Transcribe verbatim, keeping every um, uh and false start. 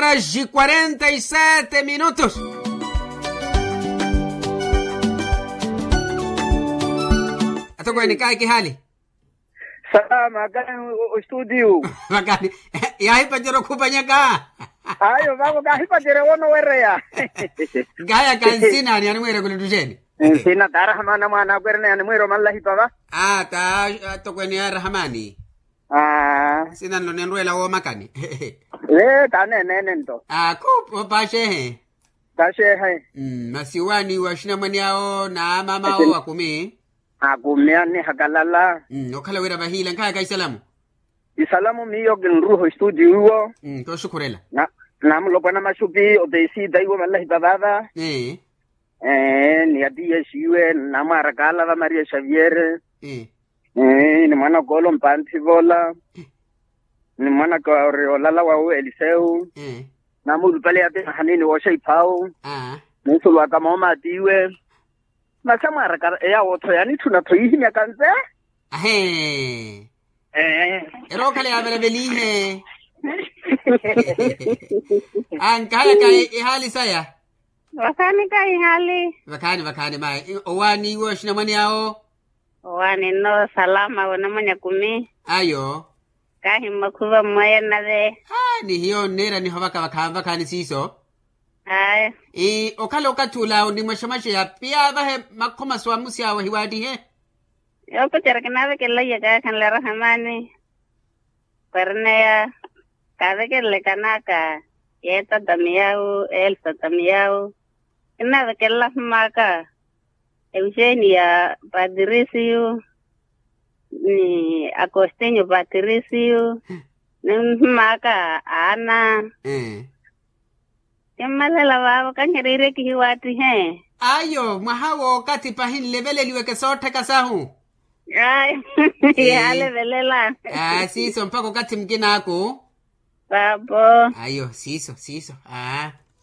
Horas e quarenta e sete minutos. Atokweene kayi kihali. Salama kayi. Ostudio. Vakani. Yaahipacerya okhupanyaka. Ayo vavo kaahipacerya woonowereya. Nkahayaka nsinani animwiire kulittuxeni. Nsina taarahamana mwaana akwerene animwiire omanlahipa va. Aa ta. Atokweene ya rahamani. Aa. Nsinanlo ninrweela woomakani. Ee taaneenene nto. Aa khuupa opaaxeehe. Taxeehe. Masi owaaniwa oxinamwane awo na maama awo akumi. Akumi anihakalala. Okhala wira vahiila nkhayaka isalamu. Isalamu miyo kinruha ostudio iwo. Tooxukhurela. Na mulopwana maxupi opeisita iwo manlahipa vaava. Ni atiya exiwe namwaaraka alava maria xaviere. Ni mwanaka ole ompanthi vola. Ni mwanaka ori olala wawe eliseu. Namuulupale yaati mahanini wooxa iphau. Ninsulwaka mooma atiiwe. Masi amwaaraka eyawo-tho yanitthuna-tho yiihimyaka nze. Ahee. Erookhala yaavelavelihe. Ankahayaka ihaali saya. Vakhaani kahi ihaali. Vakhaani vakhaani mayi owaani iwe oxinamwane awo. Owaani nno salama wonamwanya kumi. Ayo. Kahi mmakhuva mmweya nnave. Ni hiyo nniira nihovaka vakhaani siiso. Ayo. Okhala okathi ula onimwexamwaxeya piya vahe makhomaso amusi awo ahiwaattihe. Yoopacerya kinaavekelela iya kaakhanle arahamani. Kwereneya kaavekelela ekanaka. Yeetata miyawu elsa ta miyawu. Kinaavekelela ahumaaka. Euxenia patirisiyu. Ni akostinyo patirisiyu. Ni nhumaaka aana. Kimmalela vaavo kanheriirye kihiwaattihe. Ayo mwaha w'okathi pahi nleveleliweke soottheka sahu. Ayo yaalevelela. Siiso mpakha okathi mukinaaku. Papo. Ayo siiso siiso aa.